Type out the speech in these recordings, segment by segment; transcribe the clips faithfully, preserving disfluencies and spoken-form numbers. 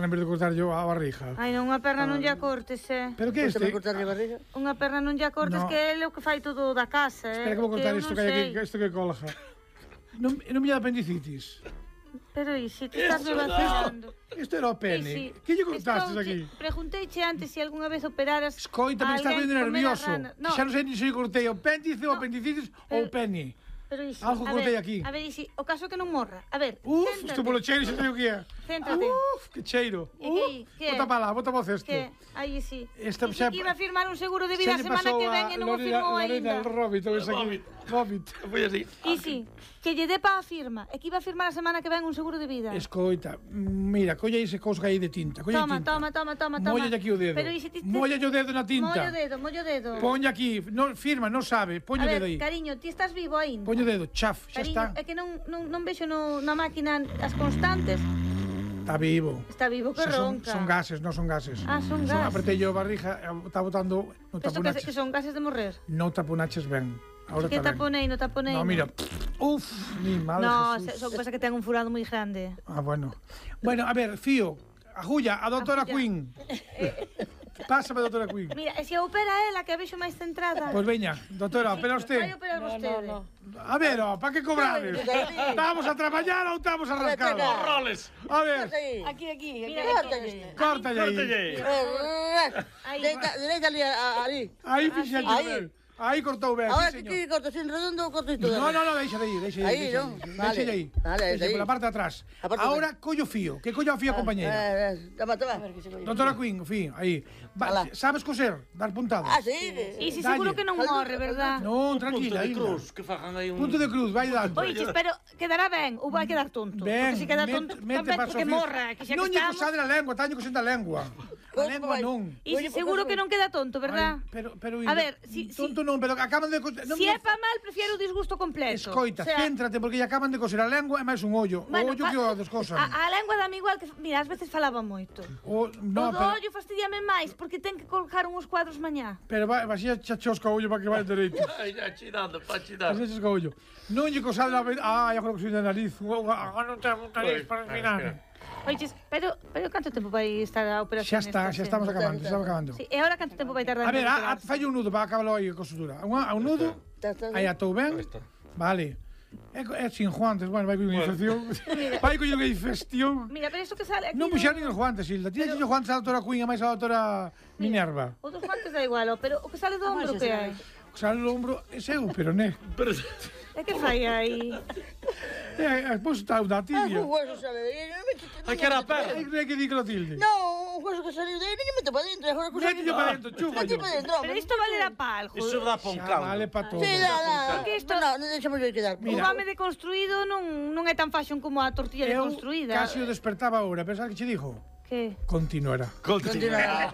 perna en vez de cortar yo a barriga. Ai, non, unha perna non lla cortes, eh. Pero que este? cortarlle a barriga? Unha perna non lla cortes, No. que é o que fai todo da casa, eh. Espera que vou cortar eu isto non que hai sei. aquí, isto que colga. Non, non me dá apendicitis. Pero e se ti estás me vacilando. Isto era o pene. Que lle cortastes aquí? Pregunteiche antes se alguna vez operaras. Escoita, me estás alguén vendo comer a nervioso. rana. No, Xa non sei ni se cortei o apéndice, o apendicitis ou o pene. pero isi, Algo a cortei ver, aquí. A ver, isi, o caso é que non morra. A ver, Uf, céntrate. isto polo cheiro xa sei o que é. Céntrate. Uf, que cheiro. E que- Uf, que? bota para lá, bota para o cesto. Que? Aí sí. Esta Dixo xa- que iba a firmar un seguro de Xa vida a lle semana pasou que ven a e non o Lorena- firmou Lorena aínda. Robbit, ou esa aquí. Robbit. Foi así. E sí, que lle dé pa a firma. E que iba a firmar a semana que ven un seguro de vida. Escoita, mira, colla ese cousa aí de tinta. Colla Toma, tinta. toma, toma, toma, toma. Móllalle aquí o dedo. Pero e se ti te- Móllalle o dedo na tinta. Mollo o dedo, mollo o dedo. Poña aquí, no, firma, non sabe, poño o A dedo ver, aí. cariño, ti estás vivo aínda. Poño o dedo, chaf, xa Cariño, está. é que non, non, non vexo no, na máquina as constantes. Está vivo. Está vivo que Xa son, ronca. son gases, non son gases. Ah, son Son gases. apretei yo a barriga, e está botando, non Isto que, taponaches. que son gases de morrer. Non taponaches ben. Ahora Que está ben. taponei, non taponei. No, mira. Uf, mi madre No, Jesús. se- só que pasa que ten un furado moi grande. Ah, bueno. Bueno, a ver, Fío, ajulla, a doutora Ajulla. Queen. Pásame, doutora Queen. Mira, e se opera ela, que a vexo máis centrada. Pois veña, doutora, opera Vai usted. operar vostede. A ver, ó, para que cobrades? ¿Estamos a traballar ou estamos a rascar? Roles. A ver, Aquí, aquí. Mira, Córtalle. córtalle aí. Córtalle. Aí. Dereita, dereita ali, a- ali. Aí fixalle Aí. ben. Aí cortou ben, Ahora sí, que señor. ti cortas en redondo ou cortas todo? No, no, no, deixa de aí, deixa de aí. Aí, deixa non? de aí. Vale. Deixa de aí. Vale, Deixa aí. por la parte de atrás. A parte de Ahora collo Fío, que collo a Fío, compañera. Eh, eh, toma, toma. Doutora Queen, Fío, aí. Va, Alá. sabes coser? Dar puntadas? Ah, sí. E se Dalle. seguro que non morre, verdad? Non, Punto tranquila, de ainda. cruz, que fajan aí un... Punto de cruz, vai dando. Oiches, pero quedará ben ou vai quedar tonto? Ben, Porque se queda met- tonto, mete ben, paso que fijo. morra, que xa Non que lle estamos. cosade a lengua, taño cosendo a lengua. A Como lengua vai? non. E se seguro que non queda tonto, verdad? Ay, pero, pero, A ver, si, si, tonto non, pero acaban de coser. si é pa mal, prefiero o disgusto completo. Escoita, O sea, céntrate, porque lle acaban de coser a lengua e máis un ollo. O bueno, ollo fa- que o descosan. A, a lengua dame igual que... Mira, ás veces falaba moito. O, no, o do pero, ollo fastidiame máis, porque ten que colgar uns cuadros mañá. pero vai, vai xa chosca o ollo para que vai dereito. Ai, ya chidando, pa chidar. Así chosca o ollo. Non lle cosade a... Ah, agora que soy da nariz. Agora non ten nariz para respirar. Oiches, pero, pero canto tempo vai estar a operación? Xa está, xa estamos acabando, xa estamos acabando. Sí, e agora canto tempo vai tardar? A ver, en a, a, recuperarse? fai un nudo para acabarlo aí con sutura. Un, a un nudo, Está, está. aí atou ben. Aí está. Vale. É, co- é sin guantes, bueno, vai con unha infección. Vai con unha infección. Mira, pero isto que sale aquí... Non puxeron nin os guantes, Hilda. Tira os guantes a doutora Queen e máis a doutora Minerva. O dos guantes da igual, ó, pero o que sale do ombro que hai? O sale o ombro, ese é o peroné. Pero... É que fai aí? É, é, pois está unha Ah, tibia. un hueso sale de aí. Ai, que era a perna. Ai, cree que di Clotilde. No, un hueso que saliu de aí, non me meto para dentro. Agora que Mételle para dentro, chúfallo. Mete para dentro. Pero isto valerá pa algo. Iso dá pa un Xa caldo. vale para todo. Sí, dá, dá. Porque isto- No, non deixamos de quedar. O home deconstruído non, non é tan fashion como a tortilla Eu deconstruída. casi o despertaba ahora, pensar que che dijo. Que? Continuará. Continúa.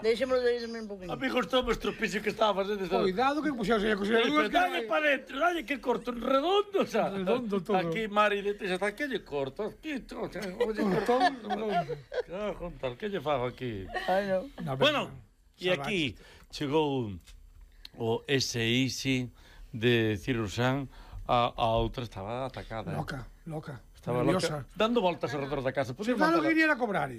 Deixémoslo de irme un poquinho. Amigos, todo o estropicio que estaba facendo. Cuidado que puxeuse a coser dúas Dalle que... para dentro, dalle que corto en redondo, xa. Redondo todo. Aquí, Mari, de tes ata que lle corto. Aquí, to, xa, oye, Todo redondo. Cago en tal, que lle fago aquí? Ai, non. No, pero- Bueno, e Salvaxe. aquí chegou o S I S I de cirurxán, a, a outra estaba atacada. eh. Loca, loca. Estaba nerviosa. loca, dando voltas alrededor da casa. Se Podía claro que matar- quería era cobrar.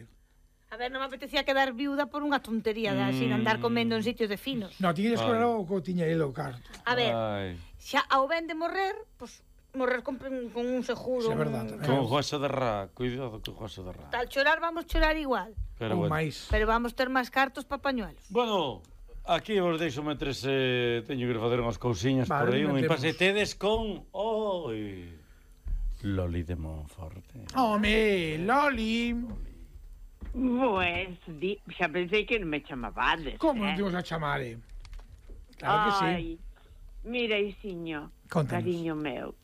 A ver, non me apetecía quedar viuda por unha tontería de así, de andar comendo en sitios de finos. No, ti querías Ai. cobrar o que tiña ele o carto. A ver, Ai, xa ao ben de morrer, pois morrer con, con un seguro. Sí, é verdad, un- tamén. con José de Rá, cuidado con José de Rá. Tal chorar vamos chorar igual, Pero Ou bueno. máis. pero vamos ter máis cartos pa pañuelos. Bueno, aquí vos deixo metres, eh, teño que facer unhas cousiñas Vale, por aí, un metemos. impasse. Tedes con... Oi... Loli de Monforte. Home, Loli. Pues, di, xa pensei que non me chamabades. Como non eh? dimos a chamare? Claro que sí. Ai, mira, Isiño, Contanos. cariño meu,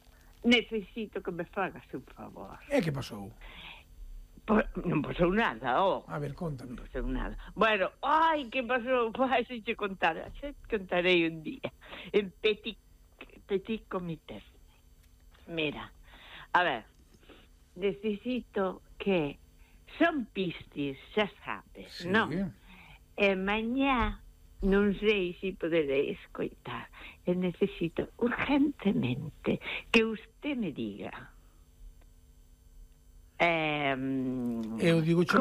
necesito que me fagas un favor. E que pasou? Po, non pasou nada, oh. A ver, contame. Non pasou nada. Bueno, ai, que pasou? Ai, se che contar, xa te contarei un día. En petit, petit comité. Mira, a ver, necesito que son pistis, xa sabes, Sí. non? E mañá non sei se poderei escoitar. E necesito urgentemente que usted me diga. Eh, Eu digo che